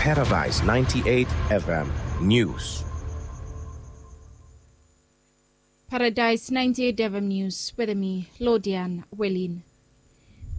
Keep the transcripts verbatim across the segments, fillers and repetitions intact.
Paradise ninety-eight F M News. Paradise ninety-eight F M News wetem mi, Lodian Welin.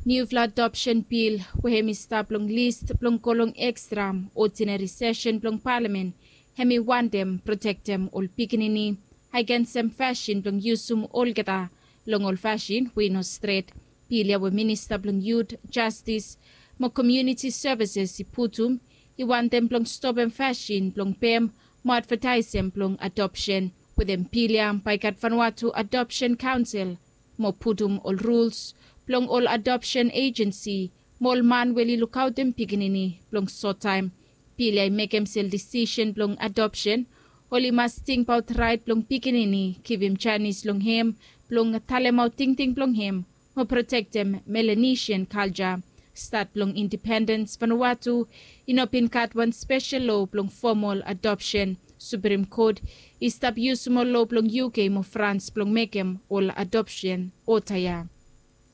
Niufala adoption bil we hem i stap long list blong go long ekstra, odinari sesen blong palamen, hem i wantem protektem ol pikinini agensem fasin blong yusum olgeta long ol fasin we i no stret. Bil ya we minista blong yut, jastis mo komuniti sevises i putum i wantem blong stopem fasin blong pem mo advataesem blong adopsen. Wetem bil ya bae i gat Vanuatu Adopsen Kaonsel mo putum ol ruls blong ol adopsen ejensi mo ol man we oli lukaotem pikinini blong sottaem. Bil ya i mekem se ol disisen blong adopsen oli mas tingbaot raet blong pikinini, givim janis long hem blong talemaot tingting blong hem mo protektem Melanesian kalja. Stat blong indipendens Vanuatu i no bin gat wan spesel loa blong fomol adopsen. Suprim Kot i stap yusum ol loa blong U K mo Frans blong mekem ol adopsen oda ya.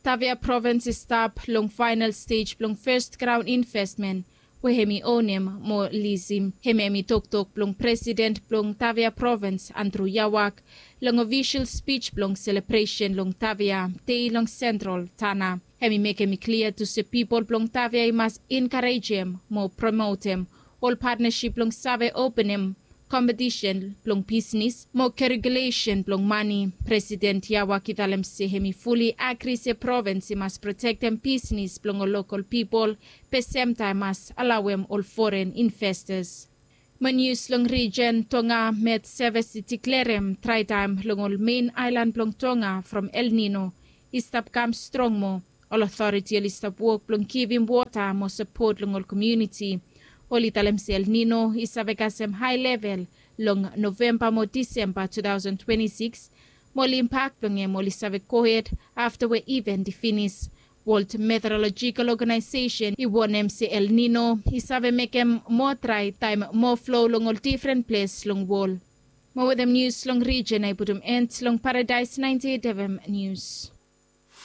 Tavia provins i stap long faenal stej blong fes graon investmen we hem i onem mo lisim. Hem hem i toktok blong presiden blong Tavia provins, Andrew Yawak, long ofisol spij blong selebresen long Tavia dei long Sentral Tanna. Hem i mekem i klia tu se pipol blong Tavia i mas enkarejem mo promotem ol patnasip blong save openem kompetisen blong bisnis mo keregulesen blong mane. Presiden Yawak i talem se hem i fuli agri se provins i mas protektem bisnis blong ol lokol pipol, be semtaem mas alaoem ol foren investas. Mo nius long rijen, Tonga Met Sevis i diklerem draetaem long ol men aelan blong Tonga from El Nino i stap kam strong moa. Ol otoriti oli stap wok blong givim wota mo sapot long ol komuniti. Oli talem se El Nino i save kasem hae level long Novemba mo Disemba two thousand twenty-six, mo ol impak blong hem oli save gohed afta we iven i finis. World Meteorological Organization i wonem se El Nino i save mekem moa drae taem moa flo long ol difren ples long wol. Mo wetem nius long rijen, ae i putum en long Paradise ninety-eight F M Nius.